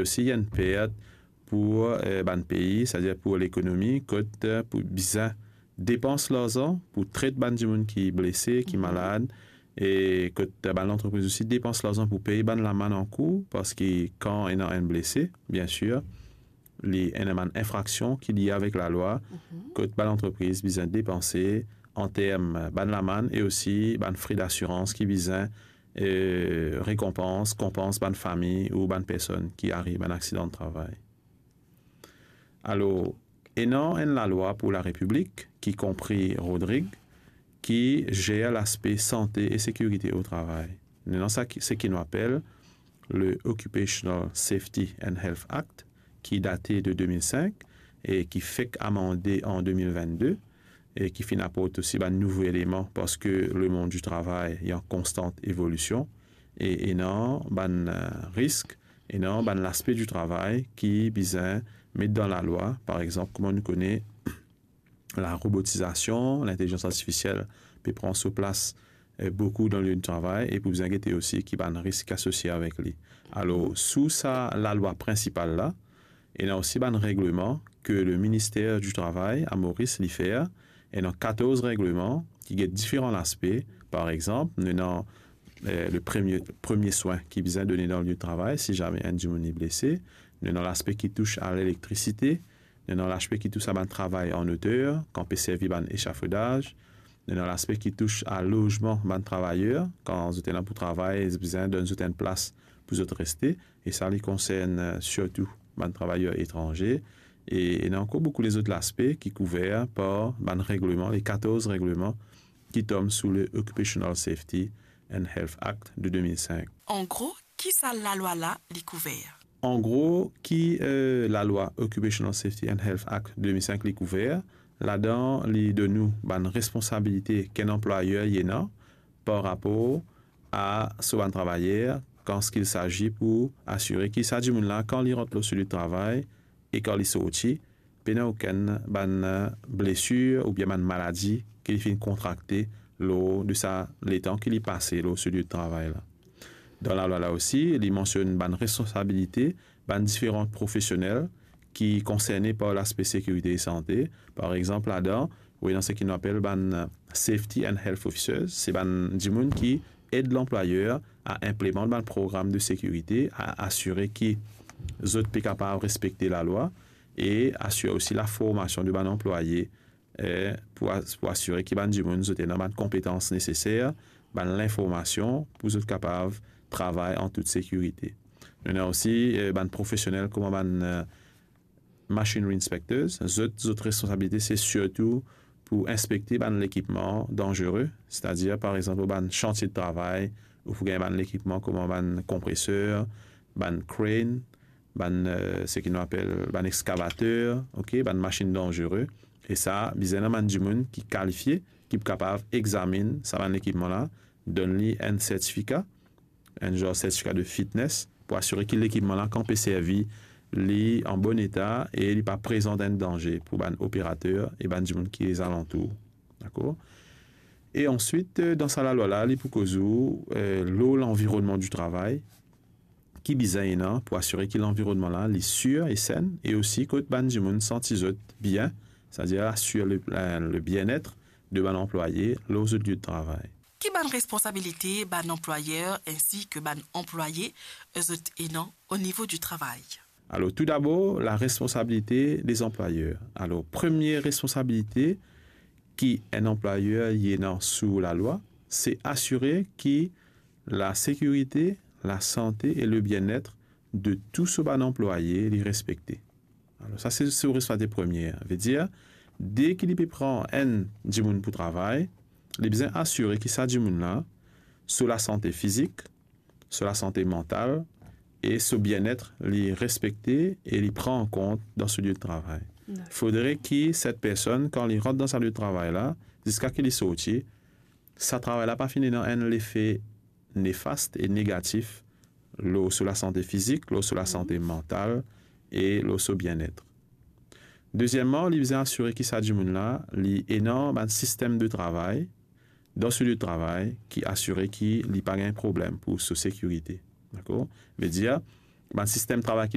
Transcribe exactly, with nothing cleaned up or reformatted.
Osi, li enn pert pou, eh, bann pei, setadir pou lekonomi, kot, eh, pou bizin depans larzan pou tret bann dimoun ki blese, ki malad, e kot, eh, bann lantrepriz osi depans larzan pou pey bann lamann ankour, parski kan ena enn blese, biensir, li ena bann infraksion ki lie avek lalwa, kot bann lantrepriz bizin depanse an term bann lamann e osi bann fre dasirans ki bizin, eh, rekonpans, konpans bann fami ou bann personn ki ariv bann aksidan travay. Alor, ena enn lalwa pou Larepiblik, ki konpri Rodrig, ki zer laspe sante e sekirite o travay. Nou ena sa ki, seki nou apel le Occupational Safety and Health Act, ki date de de mil sink e ki fek amande an de mil vennde, e ki finn aport osi bann nouvo eleman, parski lemond di travay li an konstan evolision, e ena bann, eh, risk, ena bann laspe di travay ki bizin met dan lalwa, par exanp, kouma nou kone, larobotizasion, lintelizans artifisiel pe pran so plas, eh, boukou dan lie di travay, e pou bizin gete osi ki bann risk asosie avek li. Alor, sou sa lalwa prinsipal la, ena osi bann regleman ki le Minister di Travay a Moris li fer, ena katorz regleman ki get diferan laspe. Par exanp, nou ena, eh, le premie, premie swin ki bizin done dan lie di travay, si zame enn dimoun li blese. Nou ena laspe ki tous a lelektrisite, nou ena laspe ki tous a bann travay an oter, kan pe servi bann echafodaz, nou ena laspe ki tous a lozman bann travayer, kan zot ena pou travay, zot bizin donn zot enn plas pou zot reste, e sa li konsern, eh, sirtou bann travayer etranze, e ena ankor boukou lezot laspe ki kouver par bann regleman, le katorz regleman ki tom sou le Occupational Safety and Health Act de de mil sink. An gro, ki sa lalwa la li kouver? An gro, ki, eh, lalwa Occupational Safety and Health Act de de mil sink li kouver, ladan li donn nou bann responsabilite ki enn anplwayer li ena par rapor a so bann travayer, kan il sazi pou asire ki sa dimoun la, kan li rant lor so lie di travay e kan li sorti, pena okenn bann, eh, blesir oubien bann maladi ki li finn kontrakte lor de sa letan ki li pase lor so lie di travay la. Dan lalwa la osi, li mansionn bann responsabilite bann diferan profesionel ki konserne par laspe sekirite e sante. Par exanp, ladan, ou ena seki nou apel bann, eh, safety and health officers, se bann dimoun ki ed lanplwayer a inplimant bann program de sekirite, a asire ki zot pe kapav respekte lalwa e asir osi laformasion de bann anplwaye, eh, pou as-, pou asire ki bann dimoun zot ena bann konpetans neseser, bann linformasion pou zot kapav travay an tout sekirite. Nou ena osi, eh, bann profesionel kouma bann, eh, machinery inspectors. Zot, zot responsabilite se sirtou pou inspekte bann lekipman danzere, setadir, par exanp, lor bann santie de travay, ou pou gagn bann lekipman kouma bann konpreser, bann crane, bann, eh, seki nou apel bann exkavater, ok, bann masinn danzere. E sa, bizin ena bann dimoun ki kalifie, ki pou kapav examinn sa bann lekipman la, donn li enn sertifika, enn zar sertifika de fitness, pou asire ki lekipman la, kan pe servi, li an bon eta e li pa prezant enn danze pou bann operater e bann dimoun ki zalantour. Dakor? E answit, eh, dan sa lalwa la, li pou koz ou, eh, lor lanvironnman di travay, ki bizin ena pou asire ki lanvironnman la, li sir e senn, e osi kot bann dimoun santi zot bien, setadir asir le, le, le bienet de bann anplwaye lor zot lie di travay. Ki bann responsabilite bann anplwayer ensi ki bann anplwaye zot ena o nivo di travay? Alor, toudabor, la responsabilite de anplwayer. Alor, premie responsabilite ki enn anplwayer li ena sou lalwa, se asire ki lasekirite, lasante e lebienet de tou so bann anplwaye, li respekte. Alor, sa se, se responsabilite premie. Vedir, deki li pe pran enn dimoun pou travay, li bizin asire ki sa dimoun la, so lasante fizik, so lasante mantal e so bienet, li respekte e li pran an kont dan so lie di travay. Dakor. Fodre ki set personn, kan li rant dan sa lie di travay la, ziska ki li sorti, sa travay la pa finn ena enn lefe nefast e negatif lor so lasante fizik, lor so lasante mantal e lor so bienet. Deziemman, li bizin asire ki sa dimoun la, li ena bann sistem de travay dan so lie di travay ki asire ki li pa gagn problem pou so sekirite. Dakor? Vedir, bann sistem travay ki li